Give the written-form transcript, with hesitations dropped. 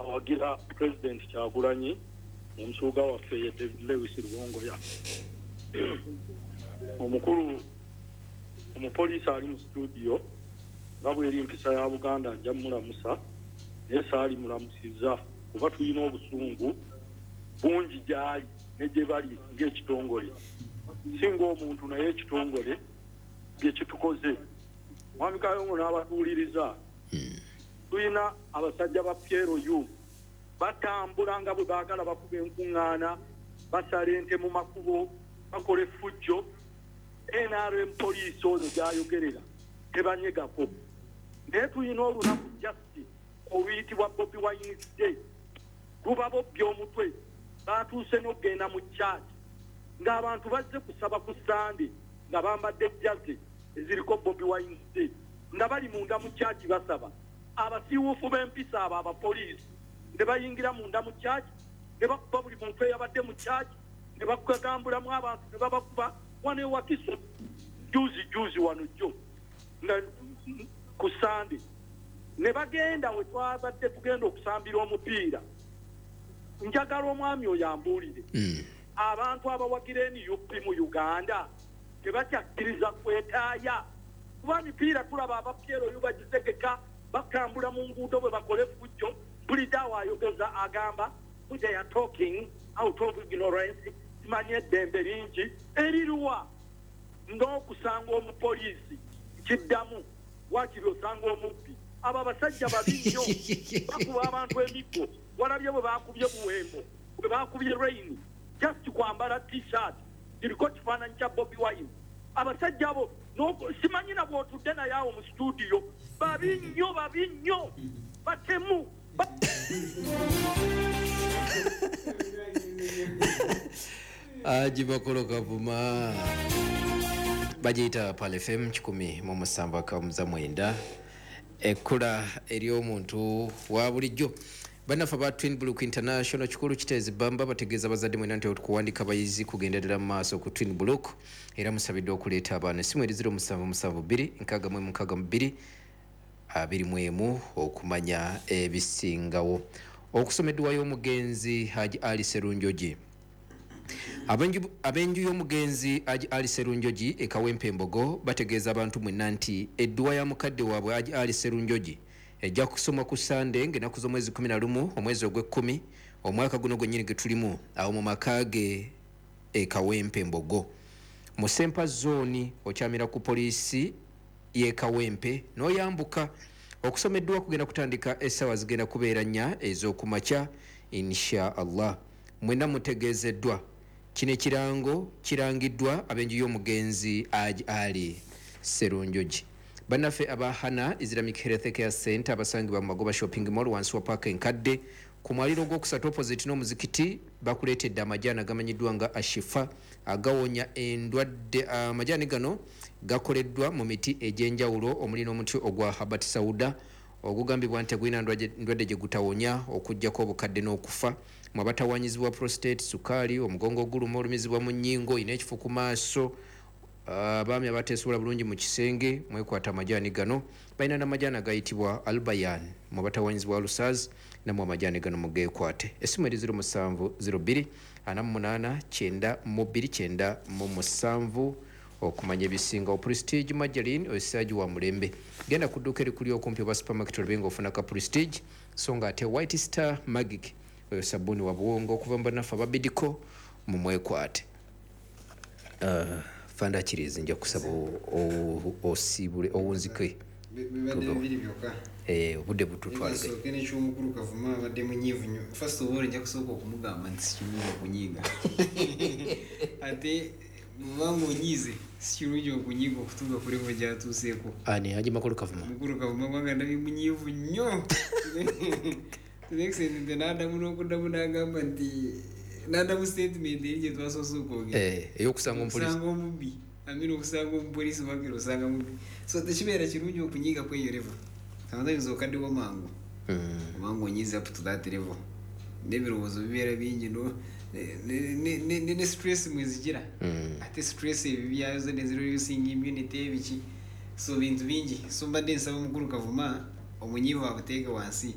Awagira Pulezidenti Kyagulanyi, omusuuga waffe ye David Lewis Rubongoya. Omukulu omupoliisi ali mu situdiyo, nga bweri mpisa ya Buganda, nja mulamusa, naye saali mulamusizza kuba tulina obusungu bungi gyali ne gye bali ng'ekitongole, si ng'omuntu, naye ekitongole bye kitukoze. Mwami Kayongo n'abatuwuliriza, tulina abasajja ba PLU batambula nga bwe baagala, bakuba enkuŋŋaana, basala ente mu makubo, bakola effujjo. NRM poliisi oyo gyayogerera tebanyegako, naye tulina olunaku just oluyitibwa Bobi Wine Day, luba bobbya omutwe. Batuuse n'okugenda mu church ng'abantu bazze kusaba ku Sande nga bambadde jersey eziriko Bobi Wine Day, nga bali munda mu church basaba. Abasiiwuufu b'empisa abo abapoliisi ne bayingira munda mu church ne bakuba buli muntu eyabadde mu church, ne bakagambulamu abantu ne babakuba. Wano ewakiso juzi juzi wano jjo nga ku Sande ne bagenda we twabadde tugenda okusambira omupiira. Njagala omwami oyo ambuulire, abantu abawagira NUP mu Uganda tebakyakkiriza kwetaaya, kuba mipiira tulaba aba PLU bagitegeka, batambula mu nguudo bwe bakola effujjo. Mpulidde awo ayogeza agamba, "They are talking out of ignorance." Simanyi eddembe lingi eriruwa n'okusanga omupoliisi kiddamu wakiri osanga omubbi. Abo abasajja babi nnyo, bakuba abantu emiggo. Walabye bwe bakubye Buwembo, bwe bakubye Rain, just kwambala T-shirt kiriko kifaananyi kya Bobi Wine. Abasajja abo simanyi na bw'otudde naye awo mu studio, babi nnyo, babi nnyo, batemu. Haji Makolo Kavuma, bagiyita Pal FM 107.9, ekkula ery'omuntu wa bulijjo. Bannaffe aba Twin Brook International kikulu kiteezi bamba bategeeza abazadde mwena nti okuwandika abayizi kugenda ddala mu maaso ku Twin Brook, era musabiddwa okuleeta abaana. Essimu eri 0772 66 21 okumanya ebisingawo. Okusoma edduwa y'omugenzi Haji Ali Serunjogi. Ab'enju y'omugenzi Haji Ali Serunjogi e Kawempe Embogo bategeeza abantu mwenna nti edduwa ya mukadde waabwe Haji Ali Serunjogi ejja kusomwa ku Sande ng'ennaku z'omwezi 11 omwezi ogw'ekkumi omwaka guno gwennyini ge tulimu, awo mu maka ge e Kawempe Mbogo mu Sempa Zooni, okyamira ku poliisi y'e Kawempe n'oyambuka. Okusoma edduwa kugenda kutandika essaawa zigenda kubeera 4 ez'okumakya, insha Allah. Mwenna mutegeezeddwa. Kino ekirango kirangiddwa ab'enju y'omugenzi Haji Ali Serunjogi. Bannaffe aba Hana Islamic Health Care Center abasangibwa mu Magoba Shopping Mall wansi wa paaka enkadde ku mwaliro ogwokusatu opposite n'omuzikiti bakuleetedde amajaani agamanyiddwa nga Ashifa agawonya endwadde. Amajaani gano gakoleddwa mu miti egy'enjawulo omuli n'omuti ogwa Habat Sauda ogugambibwa nti tegulina ndwadde gye gutawonya okuggyako obukadde n'okufa. Mwe abatawanyizibwa prostate, sukaali, omugongo oguluma, olumizibwa mu nnyingo, olina ekifo ku maaso, abaami abateesobola bulungi mu kisenge, mwekwata amajaani gano. Balina n'amajaani agayitibwa Albayan, mwe abatawanyizibwa lusaz, nammwe amajaani gano mugeekwate. Essimu eri 0702 48 92 97 okumanya ebisingawo. Prestige Margarine osaaji wa mulembe, genda ku dduuka erikuli okumpi oba supermarket olabe ng'ofuna ka Prestige. So nga ate White Star Magic oyo sabbuuni wa buwongo okuva mu bannaffe ababidiko, mumwekwate. Fanda Kirizi, nja kusaba osiibule owunzike. Bibadde bibiri byokka. Obudde bututwalage. Nsooke n'ekyomukulu Kavuma, abadde munyiivu nnyo. First of all, nja kusooka okumugamba nti si kirungi okunyiiga, ate bw'obanga onyiize si kirungi okunyiiga okutuuka ku level gy'atuuseeko. Ani, Haji Makulu Kavuma? Mukulu Kavuma, kubanga ndabye munyiivu nnyo to the extent nti n'addamu n'okuddamu n'agamba nti n'addamu statement eri gye twasoose okwogera. Ey'okusanga omupoliisi. Okusanga omubbi, amina, okusanga omupoliisi wakira osanga mubbi, so tekibeera kirungi okunyiiga kweyo level. Sometimes okaddiwa mangu obanga onyiiza up to that level, n'ebirowoozo bibeera bingi, no ne stress mwezigira, ate stress ebyo byazo nezireducing immunity ebiki, so bintu bingi. So mbadde nsaba omukulu Kavuma omunyiivu abuteeke wansi.